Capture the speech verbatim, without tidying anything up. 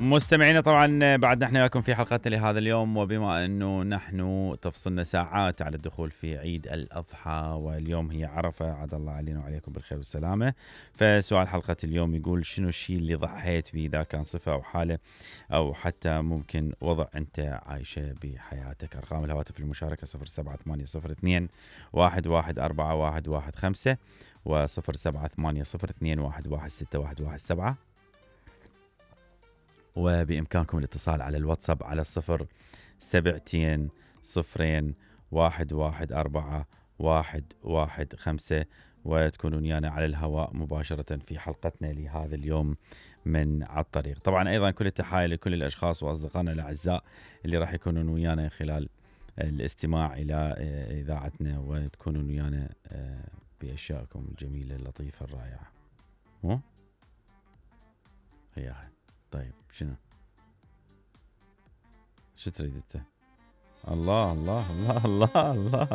مستمعينا طبعا بعد نحن وياكم في حلقتنا لهذا اليوم، وبما انه نحن تفصلنا ساعات على الدخول في عيد الاضحى واليوم هي عرفه، عاد الله علينا وعليكم بالخير والسلامه. فسؤال حلقه اليوم يقول شنو الشيء اللي ضحيت به، اذا كان صفه او حاله او حتى ممكن وضع انت عايشه بحياتك. ارقام الهواتف للمشاركه صفر سبعة ثمانية صفر اثنين واحد واحد أربعة واحد واحد خمسة وصفر سبعة ثمانية صفر اثنين واحد واحد ستة واحد واحد سبعة، وبإمكانكم الاتصال على الواتساب على الصفر سبعتين صفرين واحد واحد أربعة واحد واحد خمسة، وتكونون ويانا على الهواء مباشرة في حلقتنا لهذا اليوم من على الطريق. طبعا أيضا كل التحايا لكل الأشخاص وأصدقائنا الأعزاء اللي راح يكونون ويانا خلال الاستماع إلى إذاعتنا، وتكونون ويانا بأشيائكم الجميلة اللطيفة الرائعة. مو؟ هي طيب شنو؟ شو تريد انت؟ الله الله الله الله الله